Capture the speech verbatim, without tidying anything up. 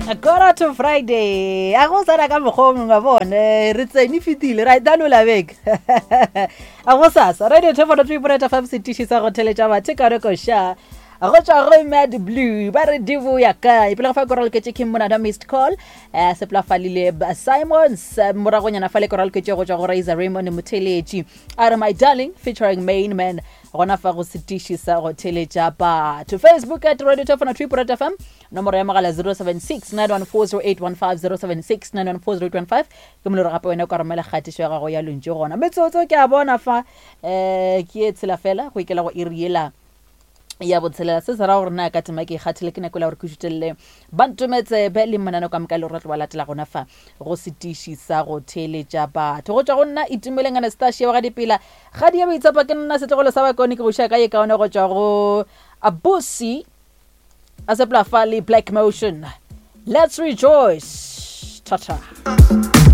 Quarter to Friday. A go sana ka mokgwa o mongwe wa bone re tsene fetile ra itanola beke. A go sasa radio two four three point five setiši sa go theletša batho ka re koša. Go tšwa go Mad Blue ba re di boya kae pele ga fa koral ketše ke monada missed call eh sepla falile Simons eh, moragonyana fa le koral ketše go tšwa go Razor Raymond Motheletši a re my darling featuring main man gona fa go setiši sa go theletša batho. Facebook at radio two four three point F M, nomoro ya mogala zero seven six nine one four zero eight one five, zero seven six nine one four zero eight one five ke moloro. Gape wena o ka romela kgatišo ya gago ya lontši gona metsotso ke a bona fa um ke e tshela fela go ikela go iriela ya botshelela. Se se ra gore na ka tema ke ikgathile ke nako la gore ke šutelele bantometsebe le mananeo ka moka le gore tlo ba latela gona fa go setiši sa go theeletša batho. Go tšwa go nna Itumeleng Anastasia wa ga dipela ga di ya boitshepo, ke nna setlogolo sa bakone, ke go iša ka ye kaone go tšwa go Abusi a sepela fa le Black Motion, Let's Rejoice. Tata.